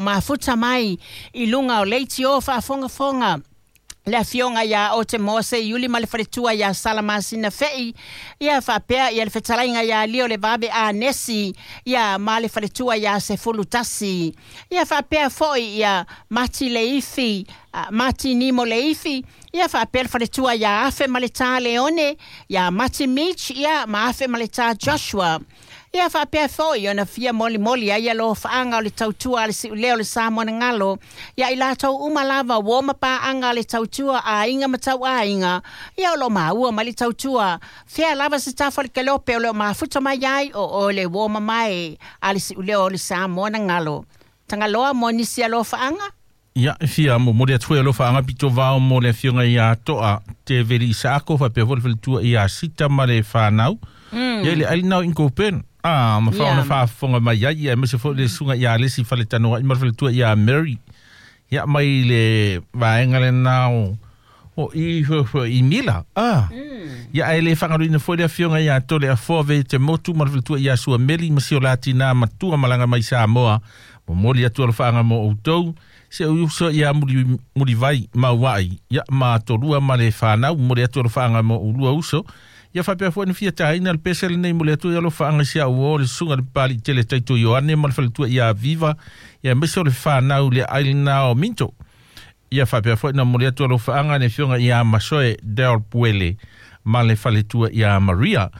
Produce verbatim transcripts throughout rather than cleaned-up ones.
Mafuta mai i luga o leitio faafogafoga le afioga iā Ote Mose Iuli ma le faletua iā Salamasina Fe'i, ia faapea ia le fetalaiga iā Lio le Vave Anesi, ia ma le faletua iā Sefulu Tasi, ia faapea fo'i ia Mati Leifi, Mati Nimo Leifi, ia faapea le faletua iā Afe ma le Tā Leone, ia Mati Mitch, ia ma Afe ma le Tā Joshua. Ia faapea foi ona fia molimoli ai alofaaga o le tautua a le siulea o le Samoanagalo ia i latou uma lava uo ma paaga a le tautua aiga ma tauaiga, ia o loo maua mai le tautua fea lava se tafa o le kelope o loo mafuta mai ai o oe le uo mamae a le siulea o le Samoanagalo. Tagaloa mo nisi alofaaga. Ia, e fia momoli atu foi alofaaga pito vao mo le afioga ia Toa Teveli Isaako faapea foi le faletua ia Sita ma le fanau. Mm. Ia i le ailina o Inkopen. Ah, ma faona faafofoga mai ai, ia aemaise foi le susuga ia Alesi Faletanoai ma le faletua ia Mary. Ia mai le vaega lena o o i i Mila. Ah. Mm. Ia ae le faagaluina foi le afioga ia Tole Afoa ve te motu ma le faletua ia Suameli ma si o latina matua malaga mai Samoa. Momoli atu alofaaga mo outou. Se o uso ia muli muli vai mauai ia ma tolua ma le fanau, momoli atu alofaaga mo ulua uso. Ia faapea foi na fia taina le pese lenei mo le atu i alofaaga si au o le susuga le pali tele Taito Ioane ma le faletua ia Viva, ia aemaise o le fanau le ailina o Minto. Ia faapea foi na momoli atu alofaaga le afioga ia Masoe Del Puele ma le faletua ia Maria.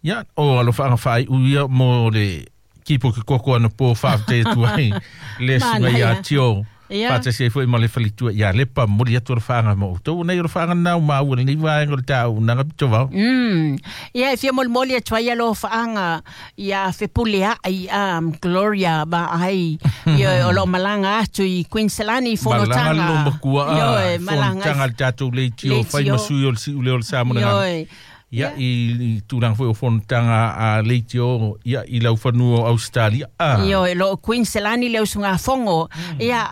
Ia o alofaaga faaiu ia mo le kipo ke koko ana po faafetai atu ai le susuga ia Tio. Faatasi ai foi ma le faletua ia Lepa, momoli atu alofaaga mo outou nei alofaaga na o maua lenei vaega o le taunaga pito vao. Mm. Ia e fia molimoli atu ai alofaaga ia Fepuleai um, Gloria Vaai, ia o loo malaga atu i Queensland i fonotaga. Malaga lo makua a fonotaga le tatou leitio fai ma sui o le siulea o le Samoanagalo. Ia i tulaga foi o fonotaga a leitio ia i laufanua o Australia. Ah. Ioe, lo Queensland le usugafogo ia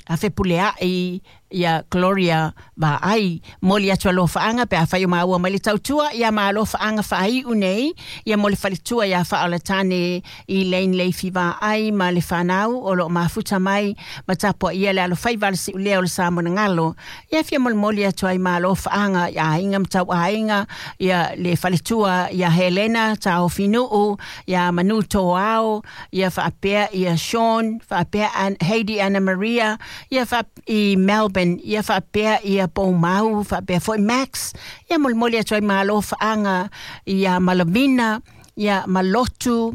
a Fepuleai ia Gloria Vaai, moli atu alofaaga pe afai o maua mai le tautua, ia ma alofaaga faaiu nei ia mo le faletua ia Faaolatane i Lane Leifi Vaai ma le fanau o loo mafuta mai ma tapuaia le alofaiva a le siulea o le Samoanagalo. Ia fia molimoli atu ai ma alofaaga ia aiga ma tauaiga ia le faletua ia Helena Taofinuu ia Manu Toao ia faapea ia Sean faapea Heidi Anna Maria ia fa i Melbourne ia faapea ia Poumau faapea foi Max, ia molimoli atu ai ma alofaaga ia Malavina ia Malotu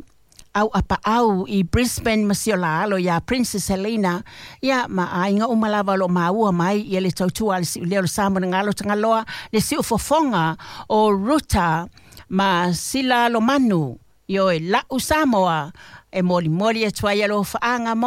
au apaau i Brisbane ma si o la alo ia Princess Helena, ia ma aiga uma lava o loo maua mai ia le tautua a le siulea o le Samoanagalo. Tagaloa le siufofoga o Ruta ma Sila Lomanu ioe lau Samoa e molimoli atu ai alofaaga mo